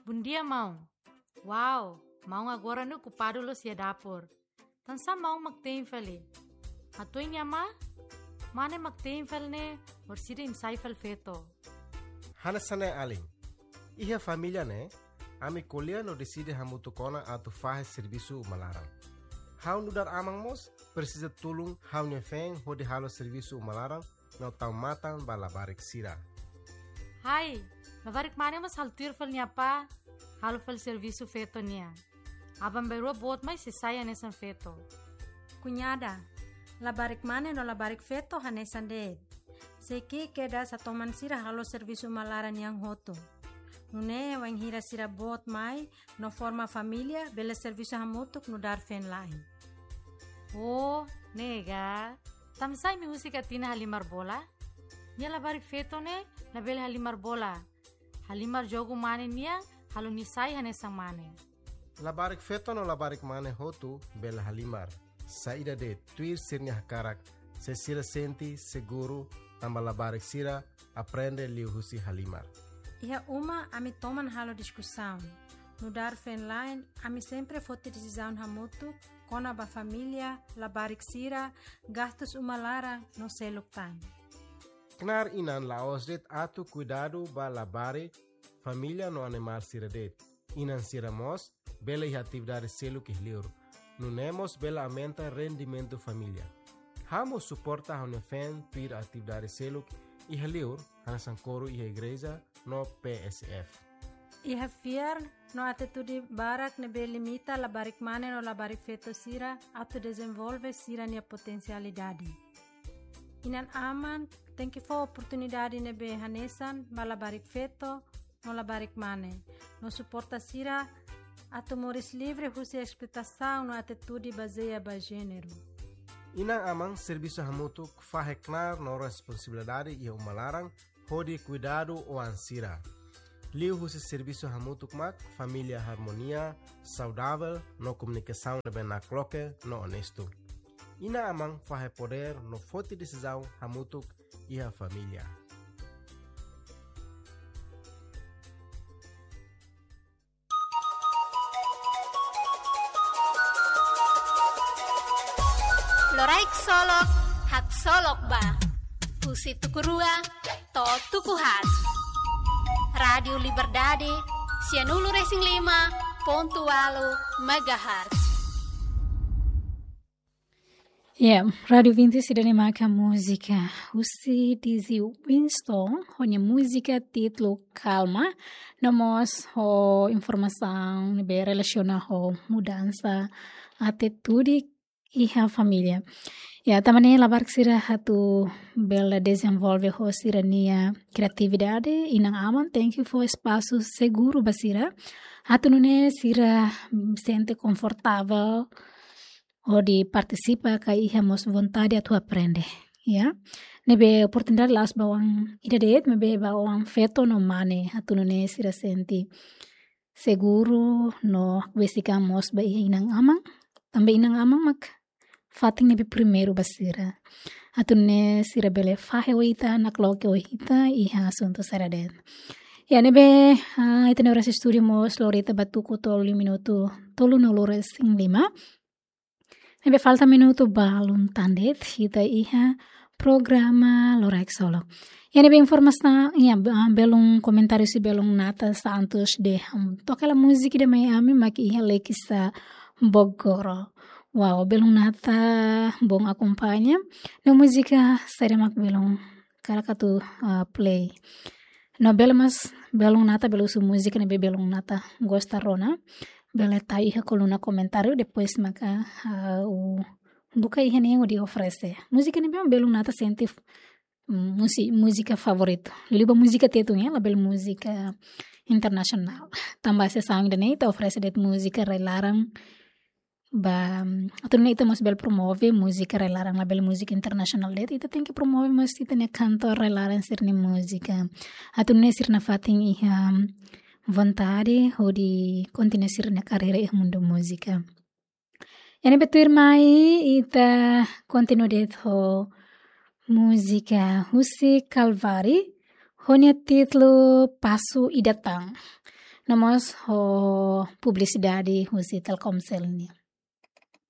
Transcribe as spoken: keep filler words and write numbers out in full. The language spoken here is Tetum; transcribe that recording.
Bondia, maun. Wow, maun agora ne'e okupadu loos iha dapur. Tansá maun mak te'in fali? Hatuin nia amá, mane mak te'in fali ne'e, orsida imi sai fali feto. Hanesan ne'e alin. Iha família ne'e, ami ko'alia no deside hamutuk ona atu fahe servisu uma laran. Ha'u nu'udar aman mós presiza tulun ha'u-nia feen hodi halo servisu uma laran no tau matan ba labarik sira. Hai, labarik mane mós halo tuir fali nia apá, halo fali servisu feto nian. Aban-bainrua boot mai sei sai hanesan feto. Kuñada, labarik mane no labarik feto hanesan de'it. Sei ki'ik kedas hatoman sira halo servisu uma laran nian hotu. Nune'e wainhira sira boot mai no forma família, bele servisu hamutuk nu'udar feen-la'en. Oh, ne'e ka. Tansá imi husik Atina halimar bola? Nia labarik feto ne'e labele halimar bola. Halimar jogu mane nian, halo nia sai hanesan mane. Labarik feto no labarik mane hotu bele halimar. Saida de'it, tuir sira-nia hakarak, se sira sente seguru, tanba labarik sira aprende liuhusi halimar. Iha uma ami toman halo diskusaun. Nu'udar feen-la'en, ami sempre foti desizaun hamutuk kona-ba família, labarik sira, gastus uma laran no seluk tan. Knaar inan la'ós de'it atu kuidadu ba labarik, família no animál sira de'it. Inan sira mós bele iha atividade seluk iha liur. Nune'e mós bele aumenta rendimentu família. Ha'u mós suporta ha'u-nia feen tuir atividade seluk iha liur, hanesan koru iha igreja no P S F. Iha fiar no atitude barak ne'ebé limita labarik mane no labarik feto sira atu dezenvolve sira-nia potensialidade. Inan-aman tenke fó oportunidade ne'ebé hanesan ba labarik feto no labarik mane, no suporta sira atu moris livre husi esploitasaun no atitude bazeia ba jéneru. Inan-aman servisu hamutuk fahe knaar no responsabilidade iha uma laran hodi kuidadu oan sira. Liuhusi servisu hamutuk mak família harmonia, saudavel no komunikasaun ne'ebé nakloke no onestu. Inan-aman fahe podér no foti desizaun hamutuk iha família. Loraik Solok, haksolok ba. Husi tuku rua to'o tuku haat. Rádiu Liberdade, sianulu resin lima pontu ualu megahertz. Ya, Rádiu Vinti sira-ne'e maka múzika husi Dizzy Winston, ho nia múzika títulu Kalma, no mós ho informasaun ne'ebé relasiona ho mudansa atitude iha família. Ya, tanba ne'e labarik sira atu bele dezenvolve ho sira-nia kriatividade, inan-aman tenke fó espasu seguru ba sira. Atu nune'e sira, mm, sente konfortavel hodi partisipa ka iha mós vontade atu aprende. Ya. Ne'ebé oportunidade la'ós ba oan ida de'it, maibé ba oan feto no mane, atu nune'e sira sente seguru no besik an mós ba iha inan-aman. Tanba inan-aman mak fatin ne'ebé primeiru ba sira. Atu nune'e sira bele fahe ho ita, nakloke ho ita iha asuntu saida de'it. Ya, ne'ebé, ah, ita-nia oras estúdiu mós lori ita ba tuku tolu minutu, tolunulu resin lima. Ne'ebé falta minutu balun tan de'it, ita iha programa Loraik Solok. Ya, ne'ebé informasaun, ya, be-, ah, belun komentáriu husi belun Nata Santos dehan, toka hela múzika ida mai ami mak iha Lekisa Bogor. Wow, belun Nata bom akompaña. No múzika saida mak belun hakarak atu, ah, play. No bele mós belun Nata bele husu múzika ne'ebé belun Nata gosta rona. Bele tau iha koluna komentáriu, depois maka, ah, ha'u buka iha ne'e hodi oferese. Múzika ne'ebé belun Nata sente, mm, musi-, múzika favoritu. Liuliu ba múzika Tetun, ya, labele múzika internasionál. Tanba sira sabe ida-ne'e ita oferese de'it múzika rai-laran ba, mm, atu nune'e ita mós bele promove múzika rai-laran, labele múzika internasionál de'it, ita tenke promove mós ita-nia kantor rai-laran sira-nia múzika. Atu nune'e sira nafatin iha vontade hodi kontinua sira-nia karreira iha mundu múzika. Ya, ne'ebé tuirmai ita kontinua de'it ho múzika husi Kalvari, ho nia títulu Pasu Ida Tan. no mós ho publisidade husi Telkomcel nian.